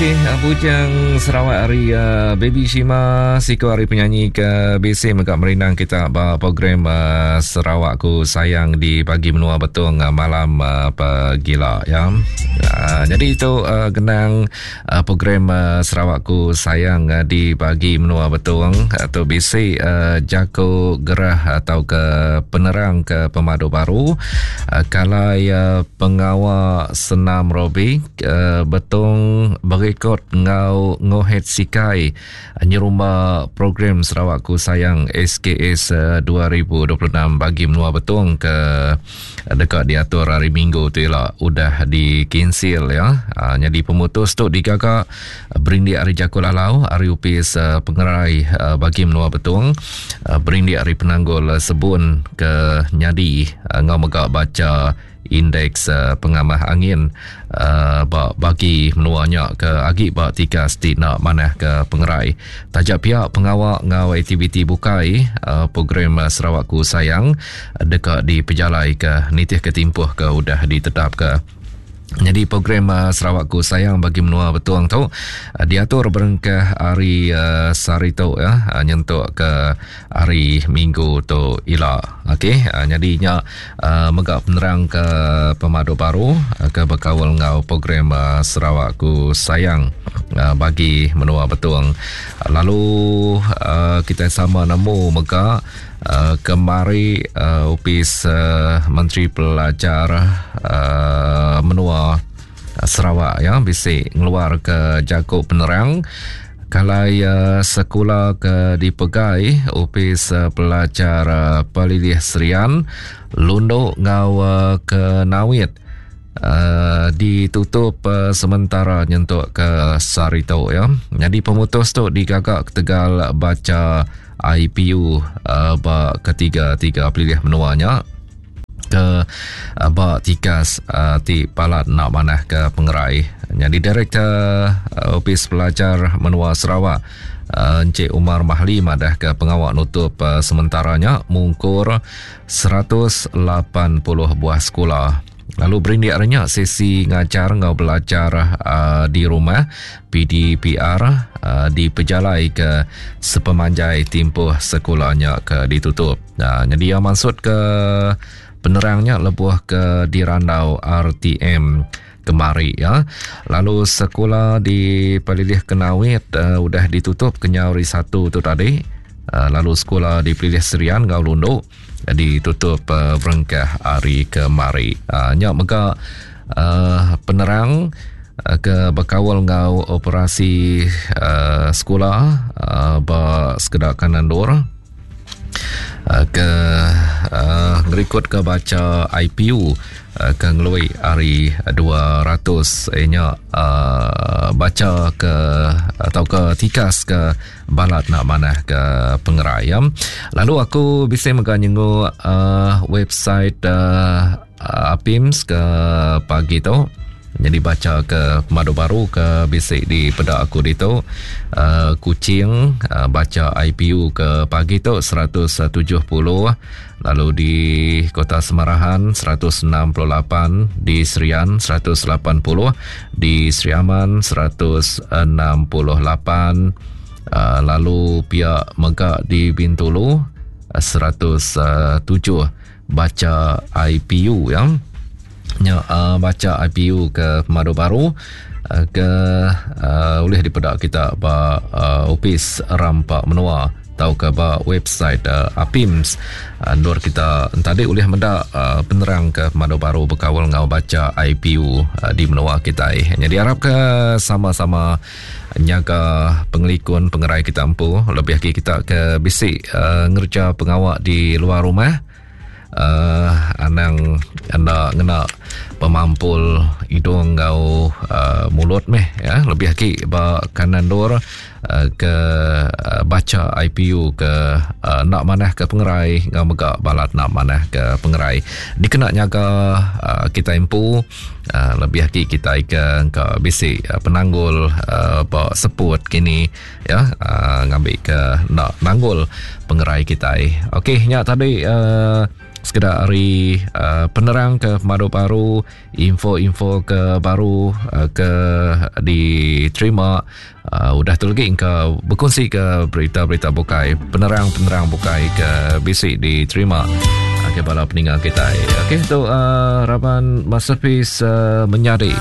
Okey, Bujang Sarawak hari uh, Baby Shima siku hari penyanyi ke bisi mega merindang kita ba program uh, Sarawak ku sayang di pagi menua Betong uh, malam uh, pegila ya. Uh, jadi itu uh, genang uh, program uh, Sarawak ku sayang uh, di pagi menua Betong atau bisi uh, jako gerah atau ke penerang ke pemadu baru uh, kalai uh, pengawa senam robik Betong berekod enggau Ngohet Sikai nyerumba program Sarawakku Sayang SKS 2026 bagi menua Betong ke deka diatur hari Minggu tu ila udah dikinsil ya. Nyadi pemutus tu digaga berindik ari jaku lalau ari opis pengerai bagi menua Betong berindik ari penanggul sebun ke nyadi enggau mega bacha Indeks pengamah angin ba bagi menua nya ke agi ba tikas ti enda manah ke pengerai. Taja pia pengawa enggau aktiviti bukai program Sarawakku Sayang deka dipejalaika nitihka timpuh ke udah ditetapka. Nyadi program Sarawakku Sayang bagi menua Betong tu diatur berengkah hari sehari tu ya nyentuk ke hari minggu tu ila. Okey, nyadi nya mega penerang ke pemadu baru ke bekaul enggau program Sarawakku Sayang bagi menua Betong. Lalu kitai sama nemu mega Kemari Opis Menteri Pelajar Menua Sarawak ya bisi ngeluarka jaku penerang kalai sekula ke dipegai Opis Pelajar Pelilih Serian Lundu enggau Kenawit ditutup sementara nyentuk ke sehari tu ya. Nyadi pemutus tu digaga ketegal bacha IPU ba ketiga-tiga pelilih menua nya ke ba tikas ti palat enda manah ke pengerai. Nyadi Direktor Opis Pelajar Menua Sarawak Encik Umar Mahli madah ke pengawa nutup sementara nya mungkur 180 buah sekula. Lalu berindik ari nya sesi ngajar enggau belajar uh, di rumah PDPR uh, dipejalai ke sepemanjai timpuh sekula nya ke ditutup. Nah, jadi iya maksud ke penerang nya lebuh ke dirandau RTM kemari ya. Lalu sekula di Pelilih Kenawit uh, udah ditutup kenyau hari Satu tu tadi. Uh, lalu sekula di Pelilih Serian enggau Lundu ditutup uh, berengkah hari kemari. Uh, nya mega uh, penerang uh, ke bekaul enggau operasi uh, sekula uh, ba sekeda kanan dur uh, ke uh, ngerikut ke bacha IPU uh, ke ngelui ari 200 nya uh, bacha ke atau ke tikas ke balat nak manah ke pengerai ya. Lalu aku bisi mega nyenguk uh, website uh, APIMS ke pagi tu. Jadi baca ke pemadu baru ke bisi di peda aku ditu uh, Kuching uh, baca IPU ke pagi tu 170 lalu di Kota Semarahan 168 di Serian 180 di Sri Aman 168 uh, lalu pihak mega di Bintulu 107 baca IPU ya nya uh, baca IPU ke pemadu baru uh, ke uh, ulih dipeda kita ba uh, opis rampa menua tauka ba website uh, APIMS uh, endur kita entadi ulih meda uh, penerang ke pemadu baru bekaul enggau bacha IPU uh, di menua kitai. Jadi arap ke sama-sama nyaga pengelikun pengerai kita empu lebih agi kita ke bisi uh, ngerja pengawa di luar rumah. Uh, anang enda ngena pemampul hidung enggau uh, mulut meh ya lebih agi ba kanan dur uh, ke uh, bacha IPU ke uh, enda manah ke pengerai enggau mega balat enda manah ke pengerai dikena nyaga uh, kita empu uh, lebih agi kita ke engka bisi uh, penanggul uh, ba seput kini ya uh, ngambi ke enda nanggul pengerai kitai. Okey nya tadi uh, Sekeda ari uh, penerang ke pemadu baru, info-info ke baru uh, ke diterima uh, udah tu lagi ke berkongsi ke berita-berita bukai, penerang-penerang bukai ke bisi diterima. Okey bala peninga kita. Okey tu uh, raban masterpiece uh, menyadi.